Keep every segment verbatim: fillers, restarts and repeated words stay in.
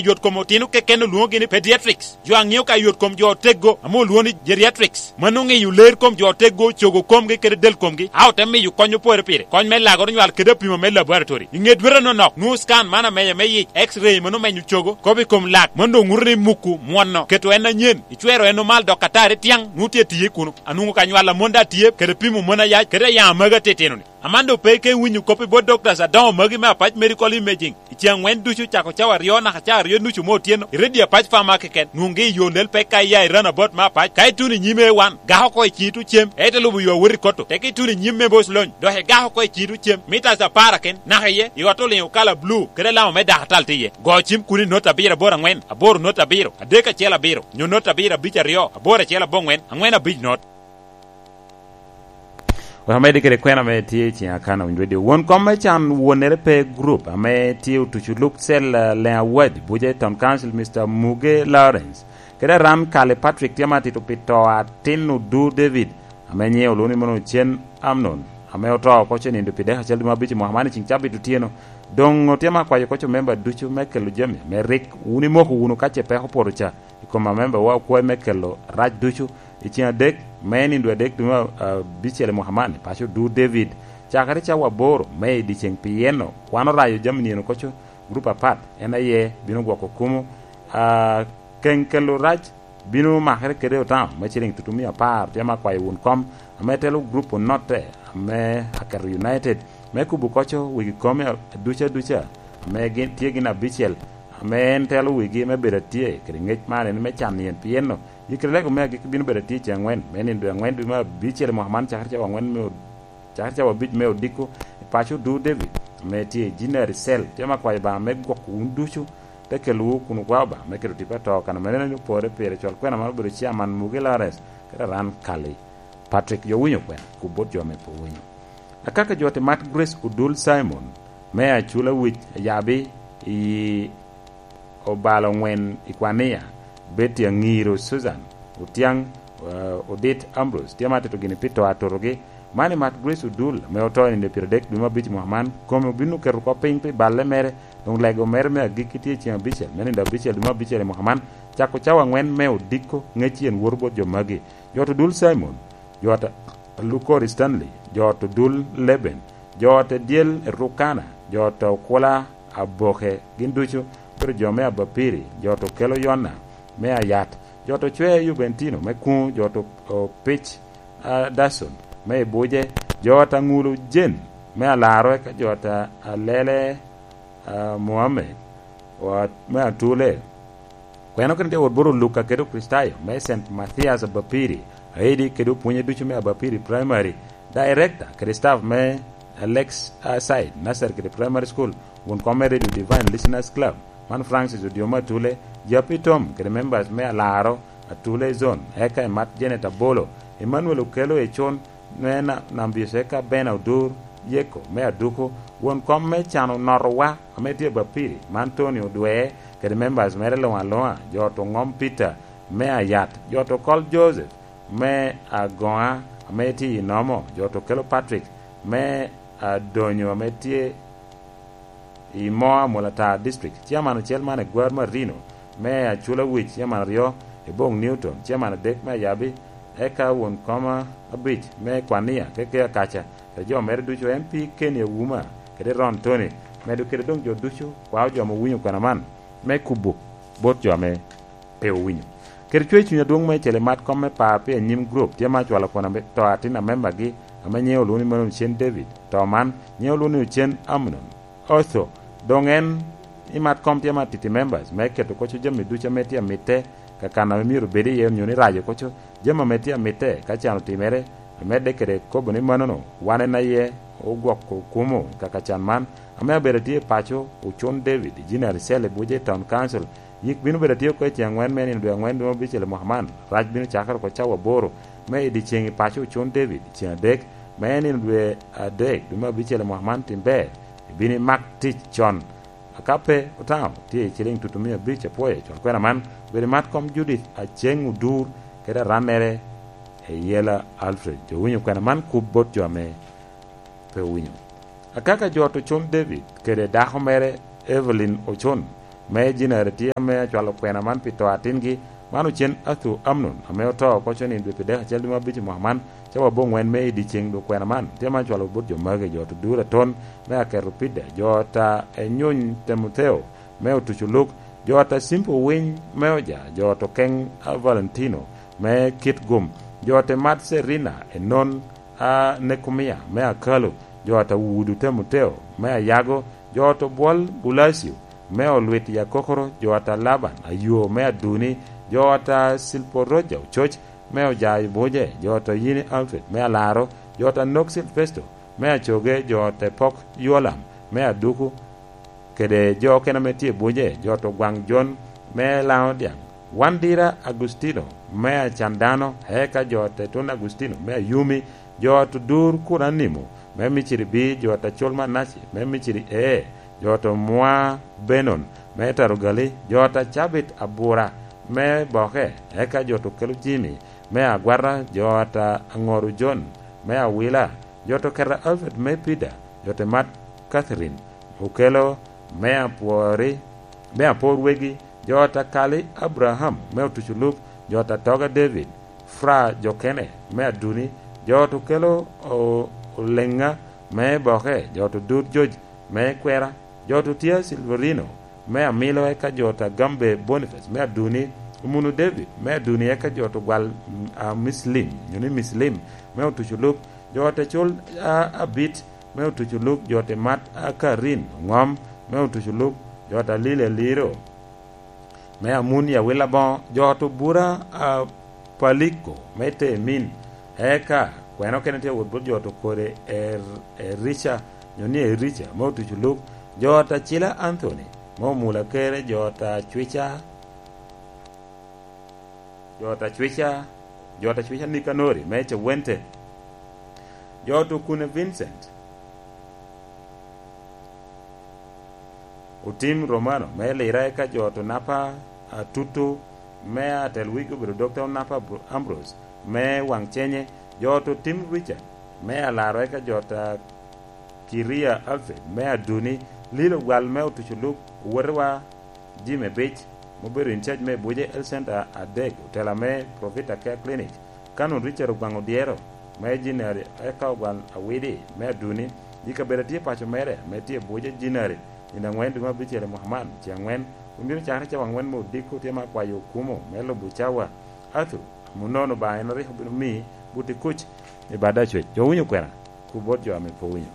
yot kom otino keken olwoŋogi ni pediatrics. Jo a ŋeo ka yot kom jo oteggo ame olwoŋo ni geriatrics. Mano oŋeyo ler kom jo oteggo, cogo komgi kede del komgi, a ote miyo kony opore pire. Kony me lagoro nywal kede apimo me laboratory. I ŋe dwete nonok, nwoŋo scan man amenya me yic, X-ray mano menyo cogo, kop i kom lak, mano doŋ ŋuto ni muku mwono, keto en anyen, icwero en omal dok atari tyaŋ, nwoŋo tye tiye kuno. Anwoŋo ka nywal amon daŋ tye, kede pimo mon ayac, kede ayaŋ amagi atitino-ni. Amando pe ke iwinyo kop i bot doctors adoŋo magi me Apac Medical Imaging. I ceŋ aŋwen ducu cako cawa aryo naka cawa aryo nucu me otyeno, i redio Apac Farmer keken, nwoŋgi i yo lel pek ka iya i roundabout me Apac. Ka ituno i nyim A one, gak oko i ciŋi tucem, ite lubo yo awot i koto. Teke ituno i nyim me Boc Lony, dok igak oko i ciŋi tucem, mitas apar aken, naka iye, i ot oliŋo kala blu, kede alama me dakatal tye iye. Go cim kun i not abiro aboro aŋwen, aboro not abiro, adek acel abiro, nyo not abiro abic aryo, aboro acel aboŋwen, aŋwen abic not. Wek amedde kede kwena ame tye i ciŋ Akana Winy Radio. Won kom me can wonere pe grup ame tye otuco luk cel, eh, Leŋ Awadi, buca i Town Council, Mister Muge Lawrence, kede Aran Kali Patrick tye ma tito pi to atin Odur David, ame nyiŋe olwoŋo ni mono Ocen Amnon, ame oto oko ce nindo pi dek acel dwe me abic i mwaka man i ciŋ cabit otyeno. Doŋ otye ma kwayo koco memba ducu me kelo jami ame rik wun imoko wunu ka ce peko opoto ca. I kom amembawa okwae me kelo rac ducu, i ceŋ adek, me nindo adek dwe me abicel i mwaka man, i paco Odur David, cakere cawa aboro me i dyeceŋ, pien wan orayo jami nino koco gurup apat, en aye bino gwoko kumo, a, keŋ kelo rac bino makere kede otamo me ciliŋ tutumia apar, tye ma kwayo wun kom, ame telo gurup onotte, ame aketo United, me kubo koco wigi kome aduca aduca, ame gin, tye gin abicel, ame en telo wigi me bedo atye kede ŋec man, en me can yen, pien no, yikere lego me agikki bino bedo atye i ceŋ aŋwen, me nindo aŋwen dwe me abicel i mwaka man, cakere cawa aŋwen me od-, cakere cawa abic me odiko, i paco Odur David, ame tye i Jinari Cell, tye ma kwayo Obaŋa me gwoko wun ducu, te kelowu kun okwao Obaŋa me keto tipo ato kan ame neno ni opore pire, col kwena man obedo chairman Mugi Lawrence, kede Aran Kali Patrick. Jo winyo kwena, kub bot jo ame pe owinyo. Akaka jo te mat Grace Odul Simon, me Acula Wic Ayabi i obalo ŋwen i Kwania, Betty Aŋiro Susan, Otiaŋ, eh, Odit Ambrose, tye ma tito gini pi to atutogi. Man i mat Grace Odul, ame oto i nino pyeradek dwe me abic i mwaka man, kome obino keto kop piny pi balle mere, doŋ lego mere me agikki tye i ceŋ abicel, me nindo abicel dwe me abicel i mwaka man, cako cawa aŋwen me odiko, ŋec yen woto bot jo magi. Jo ot Odul Simon, jo ot Lukori Stanley, jo ot Odul Leben, jo ot Dyel Rukana, jo ot Okula Aboke, gin ducu obedo jo me Abapiri, jo ot Okelo Yona me Ayat, jo ot Ocwea Yubentino me Kuŋo, jo ot Opic, a, Dason me Ibuje, jo ot Aŋulu Jen me Alaro, eka jo ot Alele, a, Mohammed, wa-, me Atule. Kweno kede jawot bot Luka kede Okricitayo me Saint Mathias Abapiri, aidi kede opwonye ducu me Abapiri Primary, Director kede staff me Alex Aside Nursery kede Primary School, won kom me Radio Divine Listeners Club, man Francis Odiomo Atule, Japi Tom kede members me Alaro Atule Zone, eka i mat Janet Abolo, Emmanuel Okelo Econ, me Na-, Nambios, eka Bena Odur Yeko me Aduku, won kom me Cano Notowa, ame tye Bapiri, man Tony Odwe, kede members mere luŋ aluŋa, jo ot Oŋom Peter me Ayat, jo ot Okol Joseph me Agoŋa, ame tye i Nomo, jo ot Okelo Patrick me Adonyo, ame tye i Moa, Amolatar District, Chairman ocel man Egwar Marino me Acula Wic, Chairman aryo Ebong Newton, Chairman adek me Ayabi, eka won koma abic me Kwania, Keke Akaca, kede jo mere ducu, M P Kenny Auma, kede Ron Tony, medo kede doŋ jo ducu, kwao jo ame owinyo kwena man, me kubo bot jo ame pe owinyo. Kede cwer cuny adwoŋ meicel i mat kom me par pi anyim gurup, tye ma acwalo kwena me to atin a membagi, ame nyiŋe olwoŋo ni Manon Cen David. To man, nyiŋe olwoŋo ni Ocen Amnon. Otho, doŋ en i mat kom tye ma titi members, me keto koco jami ducu ame tye amitte, ka kan ame myero obed iye, onyo ni rajo koco jami ame tye amitte, ka can otimere, amedde kede kobo ni manono, wan en aye ogwoko kumo i kaka can man, ame abedo atye i paco, Ocon David, i Jinari Cell i Buje Town Council, yik bino bedo atye oko i ceŋ aŋwen me nino dwe aŋwen dwe me abicel i mwaka man, rac bino cakere oko cawa aboro me i dyeceŋ i paco Ocon David, ceŋ adek me nino dwe adek dwe me abicel i mwaka man, tim ber, ibino imak tic con. Aka pe otamo, tye i ciliŋ tutumia abic apwoyo, cwal kwena man obedo i mat kom Judith Aceng Odur, kede arannere Eyela Alfred. Jo winyo kwena man kub bot jo ame pe owinyo. Akaka jo ot Ocon David kede dako mere Evelyn Ocon, me Jinari tye ame acwalo kwena man pi to atingi, man ocen Athu Amnon, ame oto oko conin dwe pi dek acel dwe me abic i mwaka man, cawa aboŋwen me i dyeceŋ dwe kwena man, tye ame acwalo bot jo magi, jo oto Dura Ton, me Aketo Pida, jo ata Enyuny Timotheo, me Otuco Luk, jo ata Simpo Winy, me Oja, jo oto Keng a Valentino, me Kit Gum, jo ote Mat Serina, Enon, a Nekumia, me Akalo, jo ata Wudu Timotheo, me Ayago, jo oto Bwol Bulacio, me Olwit Yakokoro, jo ata Laban, Ayo, me Aduni, jo ata Silporoja Ococ, me Ojayo Buje, jo oto Yini Alfred, me Alaro, jo ata Nok Silvesto, me Acoge, jo ote Pok Yolam, me Aduku, kede jo okene ame tye i Buje, jo oto Gwaŋ Jon, me Laŋo Dyaŋ, Wandira Agustino, me Acandano, eka jo ote Tun Agustino, me Ayumi, jo oto Dur Kuranimo, me Miciri B, jo oto Acol Manaci, me Miciri E, jo oto Mwa Benon, me Tarugali, jo oto Cabit Abura, me Boke, eka jo oto Kelo Jimi, me Agwata, jo oto Aŋoru Jon, me Awila, jo oto Keta Alfred, me Pida, jo oto Mat Catherine, Okelo, me Apwori, me Apor Wegi, jo ata Kali Abraham, me Otuco Luk, jo ata Toga David, Fra Jokene, me Aduni, jo oto Kelo O-, Oleŋa, me Boke, jo oto Dur George, me Kwera, jo oto Tia Silverino, me Amilo, eka jo ata Gambe Boniface, me Aduni, Omunu David, me Aduni, eka jo oto Gwal, mm, a, Mislim, nyo ni Mislim, me Otuco Luk, jo ata Col, a, Abit, me Otuco Luk, jo ote Mat, a, Karin, Oŋom, me Otuco Luk, jo ata Lili Aliro, me Amun i Awil Aboŋo, jo oto Bura, a, Paliko, me Temin, eka kwena okene tye wot bot jo oto Kore Er-, Erica, nyo ni Erica, me Otuco Luk, jo ata Cila Anthony, me Omula Kere, jo ata Cwica, jo ata Cwica, jo ata Cwica Nikanori, me Cewente, jo oto Kune Vincent, Otim Romano, me Lira, eka jo oto Napa Atutu, me atel wigi obedo Dokta Onapa Abro-, Ambrose, me Waŋ Cenye, jo oto Tim Richard, me Alaro, eka jo ata Kiria Alfred, me Aduni, Lilo Gwal, me Otuco Luk, owotewa Jim Ebic, ma obedo in charge me Buje Health Center adek, otela me Profit Care Clinic, Canon Richard Ogwaŋ Odyero, me Jinari, eka Ogwaŋ Awidi, me Aduni, i kabedo a tye paco mere, ame tye Buje Jinari, nino aŋwen dwe me abicel i mwaka man, ce aŋwen, kun bino cakere cawa aŋwen me odiko, tye ma akwayo okumo me lubo cawa. Arthur, amunono Obaŋa en rik obino miyi buti kuc i bada acwec. Jo winyo kwena, ku bot jo ame pe winyo.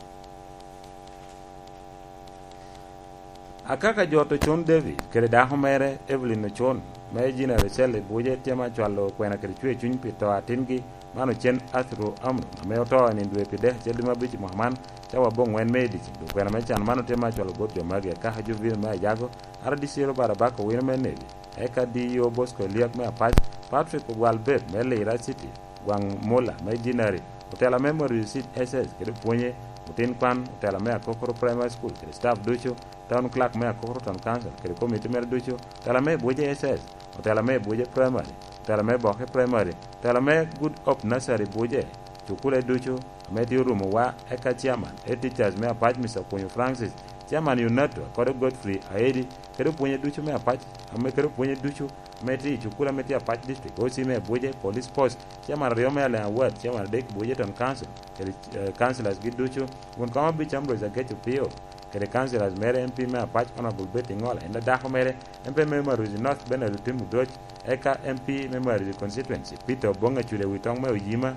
Akaka jo oto Con David kede dako mere Evelyn Ocon, me Gina Rachel i Buje, tye ma cwalo kwena kede cwer cuny pi to atingi, man ocen Athru Amnon, ame oto i nino dwe pi dek acel dwe me abic i mwaka man, cawa aboŋwen me i dyeceng. Dok kwena me can man otye ma cwalo bot jo magi: Akaka Jovino me Ayago, R D C Robert Abaka Owino me Nebi, eka D E O Bosco Eliak me Apac, Patrick Ogwal Beb me Lira City, Gwaŋ Mulla me Jinari, otela me Morisit S S kede pwonye, otin kwan, otela me Akokoro Primary School kede staff ducu, town clerk me Akokoro Town Council kede komiti mere ducu, otela me Buje S S, otela me Buje Primary, otela me Boke Primary, otela me Good Hope Nursery Buje, cukule ducu ame tye orumo wa, eka chairman e teachers me Apac, Mister Okunyu Francis, chairman UNATO, Akodo Godfrey Aedi, kede opwonye ducu me Apac, ame kede opwonye ducu ame tye i cukul ame tye Apac District, O C me Abuja, Police Post, chairman aryo me Aleng Award, chairman adek Abuja Town Council, kede, eh, councillors gi ducu, won kom abic Ambrose Agec Opio, kede councillors mere M P me Apac Honorable Betty Ngola, en dako mere, M P me Maruzi North Bernard Otim Odoc, eka M P me Maruzi Constituency Peter Obong Acude Witong me Oyima,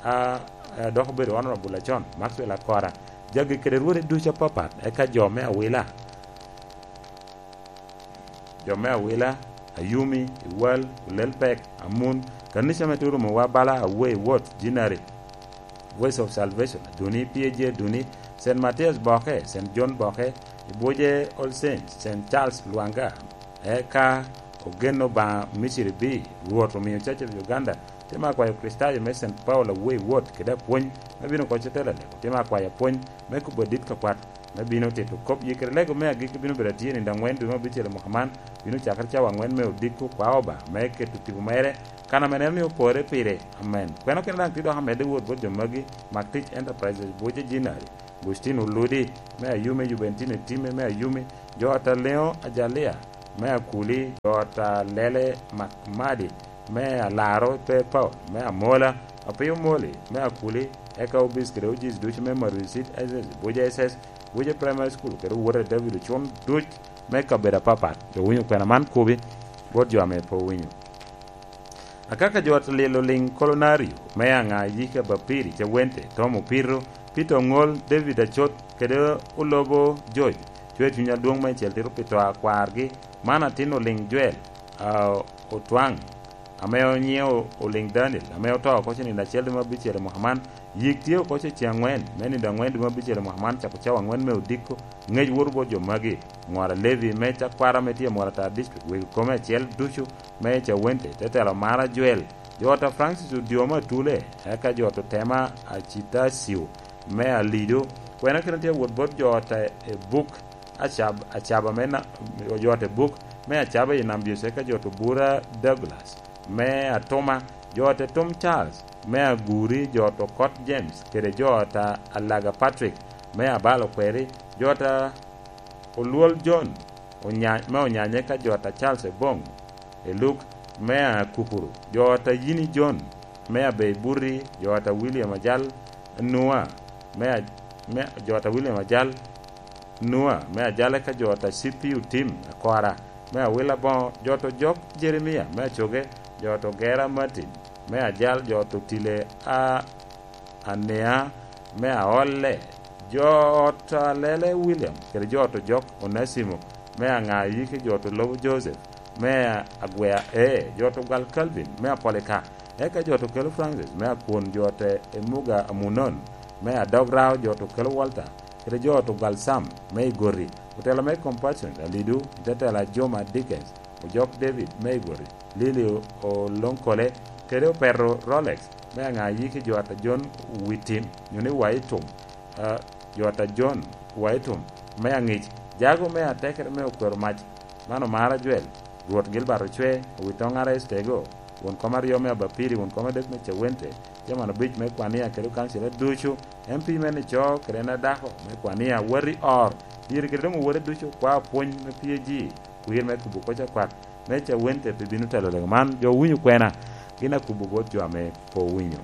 a, a dok obedo Honorable Acon Maxwell Akora, jagi kede rwode ducu apapat, eka jo me Awila. Jo me Awila, Ayumi, Iwal, Olelpek, Amun, kanica ame tye orumo wa bala Awei Wot, Jinari, Voice of Salvation, Aduni, P A G Aduni, Saint Matthias Boke, Saint John Boke, Ibuje All Saints, Saint Charles Lwanga, eka Ogen Obaŋa Misiri B, Rwot omio Church of Uganda, tye ma akwayo Kricitayo me Saint Paul Awei Wot kede apwony me bino oko Cotela Lego, tye ma akwayo apwony me kubo adit ka kwat, me bino tito kop. Yikere lego me agikki bino bedo atye nino aŋwen dwe me abicel i mwaka man, bino cakere cawa aŋwen me odiko, kwa Obaŋa me keto tipo mere, kan ame en omio opore pire. Amen. Kwena kene daŋ tye dok amedde wot bot jo magi: Mak Tic Enterprises, Buce Jinari, Agustin Oludi me Ayumi, Jubentino Time me Ayumi, jo Ataleo Ajalia, me Akuli, jo ot a Lele Makmadi, me Alaro pe Paul, me Amola, Apiyo Moli, me Akuli, eka Obis kede Ojis ducu me Marusit, S S, Buja S S, Buja Primary School, kede Owota David Ocun duc me kabedo apapat. Jo winyo kwena man kubi, bot jo ame pe owinyo. Akaka jo ot lilo liŋ Kolonario, me Aŋa Yika Bapiri, Cawente, Tom Opito, Peter Oŋol, David Acot, kede Olobo George, cwer cuny adwoŋ meicel tito pi to a kwargi, man atin oliŋ Joel, a, Otwaŋ, ame onyiŋe o-, oliŋ Daniel, ame oto oko ce nino acel dwe me abicel i mwaka man. Yik tye oko ce ceŋ aŋwen, me nino aŋwen dwe me abicel i mwaka man, cako cawa aŋwen me odiko. Ŋec woto bot jo magi: Ŋora Levi, me Cakwara, me tye i Mwara Tar District, wegi kome acel ducu, me Cawente, te telo Mara Joel, jo ot a Francis Odyoma Atule, eka jo ot Otema Acitasio, me Alido. Kwena kite tye wot bot jo ot a Ebuk, Acab-, Acaba me na-, jo ot Ebuk, me Acaba i Nam Bice, eka jo ot Obura Douglas, me Atuma, jo ot Tom Charles, me Aguri, jo ot Okot James, kede jo ot a Alaga Patrick, me Abalo Kweri, jo ot a Olwol John, Onya-, me Onyanye, ka jo ot a Charles Ebong, Eluk, me Akupuru, jo ot a Yini John, me Abei Burri, jo ot a William Ajal Nua, me a-, me jo ot a William Ajal Nua, me Ajale, ka jo ot a C P U Tim Akora, me Awila Boŋo, jo ot Ojok Jeremia, me Acoge, jo ot Ogera Martin, me Ajal, jo ot Otile a Anea, me Aolle, jo ot a Lele William, kede jo ot Ojok Onasimo, me Aŋa Yiki, jo ot Olobo Joseph, me Agwea, ee, jo ot Ogwal Calvin, me Apolika, eka jo ot Okelo Francis, me Akwon, jo ot Emuga Amunon, me Adog Rao, jo ot Okelo Walter, kede jo ot Ogwal Sam, me Igoti, otelo me Compassion Alidu, i te telo a Joma Dickens, Ojok David, me Igoti, Lili Oloŋkole, kede Opeto Rolex, me Aŋa Yiki, jo ot a John Witim, nyo ni Waitum, a, jo ot a John Waitum, me Aŋic, Jago me Atekere, me Okwero Mac, man Omara Joel, Rwot Gilbert Ocwe, Owitoŋ Ara Estego, won kom aryo me Abapiri, won kom adek me Cawente, Chairman obic me Kwania kede okancila ducu, M P me Nico kede en adako me Kwania, wati or, iri kede doŋ owote ducu, kwao pwony me P A G, kwir me kubo koc akwak me Cawente pe bino telo lega man. Jo owinyo kwena, gin akubo bot jo ame pe owinyo.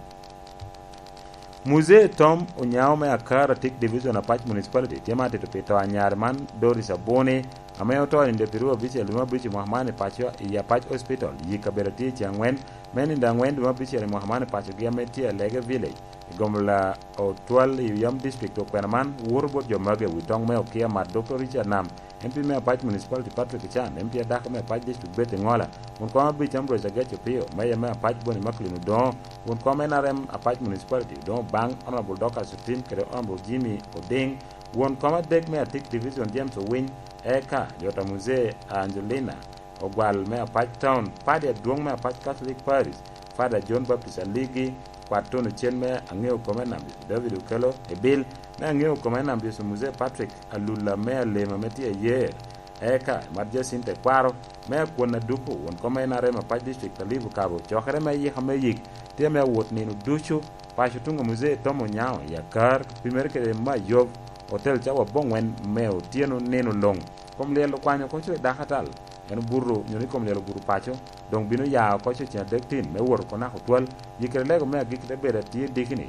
Muzee Tom Onyao me Akar Atik Division Apac Municipality tye ma atito pi to anyare man Doris Abuni, ame oto i nino pi ruu abicel dwe me abic i mwaka man i paco i Apac Hospital, i kabedo atye i ce aŋwen, me nino aŋwen dwe me abicel i mwaka man i pacogi ame tye i Alege Village, i gomola Otwal i Oyam District. Okwena man woto bot jo magi i wi toŋ me Okia Mat, Doctor Richard Nam, M P me Apac Municipality Patrick Ochan, M P adako me Apac District Betty Ŋola, won kom abic Ambrose Agec Opio, Meya me Apac Boni Macklin Odoŋo, won kom N R M Apac Municipality Odoŋo Baŋ, Honorable Dorcas Otim kede Honorable Jimmy Odiŋ, won kom adek me Atik Division James Owiny, eka jo ta Muzee Angelina Ogwal me Apac Town, padi adwoŋ me Apac Catholic Parish, Father John Baptist Aligi, kwat tono cen me aŋeo kome Nam Yecu David Okelo, Ebil, me aŋeo kome Nam Yecu Muzee Patrick Alula me Alema ame tye Ayer, eka Mat Jacinta Ekwaro, me Akwon Aduku, won kom N R M Apac District Alibu Kabo, cokere me yika me yik tye me awot nino ducu, paco tuŋ a Muzee Tom Onyao i Akar, pi mere kede me Ayob, otel cawa aboŋwen me otyeno nino luŋ. Kom lyel okwanyo oko co i dako atal, en obuto, nyo ni kom lyel obuto paco, doŋ bino ya oko co ceŋ adek tin me wot oko naka otwal. Yikere lego me agikki te bedo atye dikini,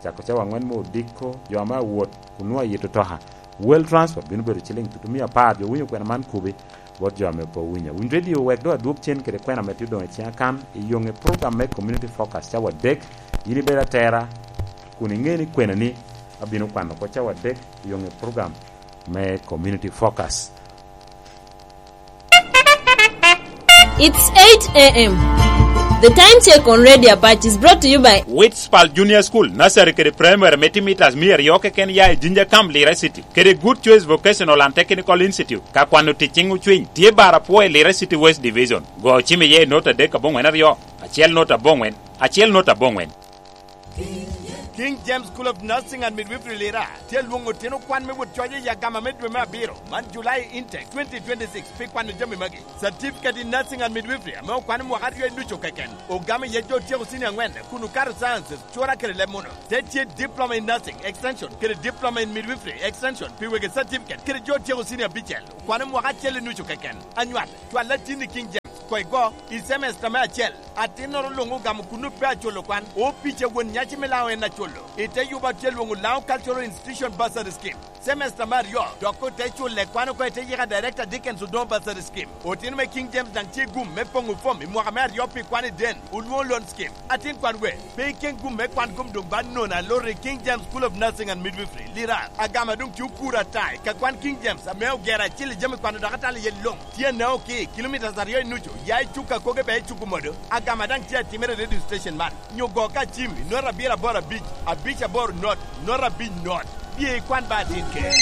cako cawa aŋwen me odiko, jo ame awot kun nwoŋo ayito toka. Well Transport bino bedo ciliŋ tutumia apar, jo winyo kwena man kubi bot jo ame pe owinyo. Winy Radio wek doŋ adwog cen kede kwena ame tye odoŋo i ciŋa kan, i yoŋe program me Community Focus cawa adek, in ibedo atera, kun iŋe ni kwenani abino kwano oko cawa adek i yoŋe program me Community Focus. It's eight a m. The time check on Radio Apac is brought to you by Witspal Junior School, Nursery kede Primary me timo itas mia aryo keken ya i Jinja Camp, Lira City, kede Good Choice Vocational and Technical Institute. Ka kwano tic ciŋ ocwiny, tye bar apwo i Lira City West Division. Go cim iye i not adek aboŋwen aryo, acel not aboŋwen, acel not aboŋwen. King James School of Nursing and Midwifery Lira tye lwoŋo otino kwan me wot coc i agama me dwe me abiro, man July intake twenty twenty-six, pi kwano jami magi. Certificate in Nursing and Midwifery ame okwan i mwaka aryo i Nucu keken, ogamo iye jo otyeko senior angwen kun okato sciences, cura kede leb muno. Te tye Diploma in Nursing Extension kede Diploma in Midwifery Extension pi wegi certificate kede jo otyeko senior abicel, okwano mwaka acel i Nucu keken. Anywal, cwal atin i King James, koigo, i semester me acel. Atinnoro luŋ ogamo kun pe aculo kwan. Opic a won nyaci me Laŋo en aculo. I te yuba tye lwoŋo Laŋo Cultural Institution Bursary Scheme. Semester me aryo, dok ote culle kwan oko i te yika Director Dickens Odongo Bursary Scheme. Otino me King James daŋ tye gum me poŋo fom i mwaka me aryo pi kwan i den, olwoŋo loan scheme. Atin kwan we, pe iken gum me kwan gum doŋ ba nono aloro i King James School of Nursing and Midwifery, Lira. Agama doŋ tye okuro ata i ka kwan King James ame ogero acil i jami kwano dok atalo iye luŋ. Tye anao ki kilomitas aryo i nucu, ya i cuk akoge bea i cuk omodo. Agama daŋ tye atimere i radio station man. Nyo go ka cim i nota abiro aboro abic, abic aboro not, nota abic not. Bye ikwan ba atin ke.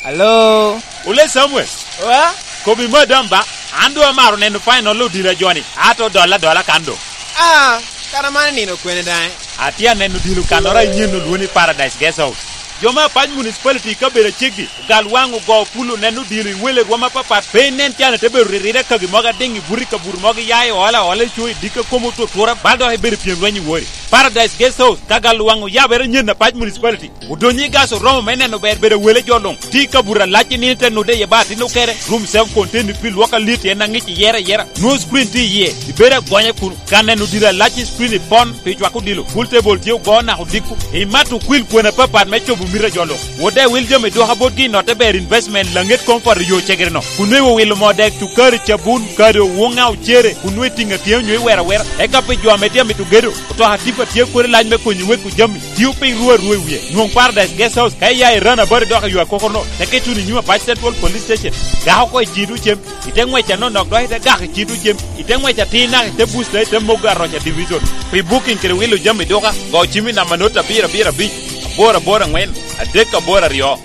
Hello? Ole Samuel. Wa? Kobi madam ba, an doŋ amaro neno final odilo a joni, ato dola dola kan doŋ. Ah, kara man nino kwene daŋ? Atye aneno odilo kanoro a inyen olwoni Paradise Guest House. Jo me Apac Municipality i kabedo aceggi, ogal waŋ ogo pulo neno odilo i wele rwom apapat. Pe inen can ite bedo riride kagi mogo adiŋ i buto i kabuto mogo iya i ola ola i co i dikka komo otutura, bal dok ibedo i pyem lweny i wori. Paradise Guest House, ka gal waŋ oyabere nyen Apac Municipality. Odonyo i gas oromo me neno ber bedo wele jo luŋ. Tye i kabuto alac i nino te nude iye ba atin okere. Room self contained pi lwok alit en aŋic iyere ayera. Nwoŋo screen tye iye. Ibedo agonya kun ka neno dira lac i screen i pon pi cwako odilo. Pool table tye ogo naka odiko. Imato okwil kwena apapat me cobo mito a jo luŋ. Wode wil jami dwoka botgi i notte ber investment laŋet comfort i yo cegere no. Kun nwe wilo moo dek, cukari, cabun, kado, wuŋa, ocere, kun nwe tiŋa tye onyo iwero awera. Eka pi jo ame tye amito gedo, otoka tipa tye kodi lac me konyo weko jami. Tio piny ruu arua i wie. Nwoŋ Paradise Guest House ka iya i Rana Bari dok i yo akokono, teke tuno i nyim Apac Central Police Station. Gako oko i cito cem, ite ŋwec anonok dok ite gako i cito cem, ite ŋwec atir naka ite busta ite mogo aroca division. Pi booking kede wilo jami duka, go cim i namba not abiro abiro abic, aboro aboro aŋwen, adek aboro aryo.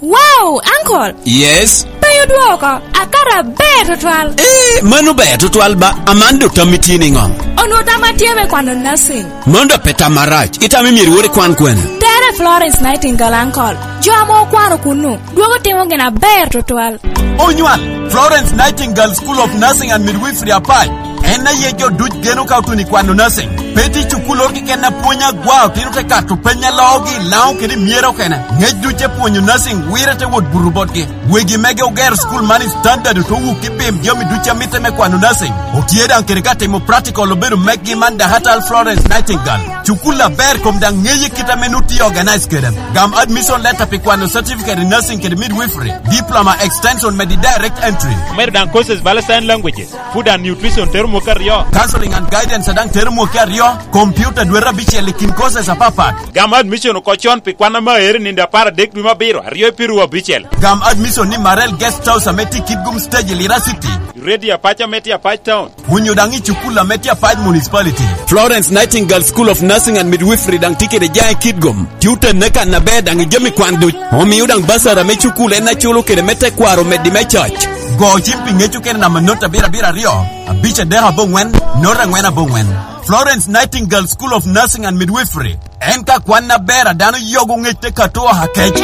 Wow, uncle! Yes? Pe odwoko, akato aber tutwal. Eh, mano ber tutwal ba, aman do tammi tye niŋo? Onwo tamma tye me kwano nursing. Mano do pe tam marac, itamo myero iwor ikwan kwene? Tere Florence Nightingale, uncle. Jo ame okwano kunnu, dwogo timo gin aber tutwal. Onywal, Florence Nightingale School of Nursing and Midwifery Apac. En aye jo duc geno ka otuno i kwano nursing. Pe tye cukul oro keken a pwony agwa otino te kato peny a loogi i Laŋo kede i Myero okene. Ŋec duc te pwonyo nursing wire te wot buto botgi. Wegi mege ogero cukul man i standard ote wuk i pim jami duc a mitte me kwano nursing. Otye daŋ kede ka timo practical obedo meggi man Dakatal Florence Nightingale. Cukul aber kom daŋ ŋeye kit ame nu tye organize kede. Gam admission letter pi kwano certificate in nursing kede midwifery, diploma extension medi direct entry. Omedo daŋ courses bala sign languages, food and nutrition tero mwaka aryo. Counseling and guidance daŋ tero mwaka aryo. Computer dwete abicel i kin courses apapat. Gam admission oko con pi kwan ame aero i nindo apar adek dwe me abiro, aryo i piru abicel. Gam admission ni Marel Guest House ame tye i Kitgum Stage i Lira City. Ready Apac ame tye Apac Town. Onyo daŋ i cukul ame tye Apac Municipality. Florence Nightingale School of Nursing and Midwifery daŋ tye kede jaŋ i Kitgum. Tye otenne kan aber daŋ i jami kwan duc. Omio daŋ basara me cukul en aculo kede me tekwaro omeddi me coc. Go cim pi ŋec okene namba not abiro abiro aryo, abic adek aboŋwen, not angwen aboŋwen. Florence Nightingale School of Nursing and Midwifery. En ka kwan aber a dano yogo ŋec te kato oha kec.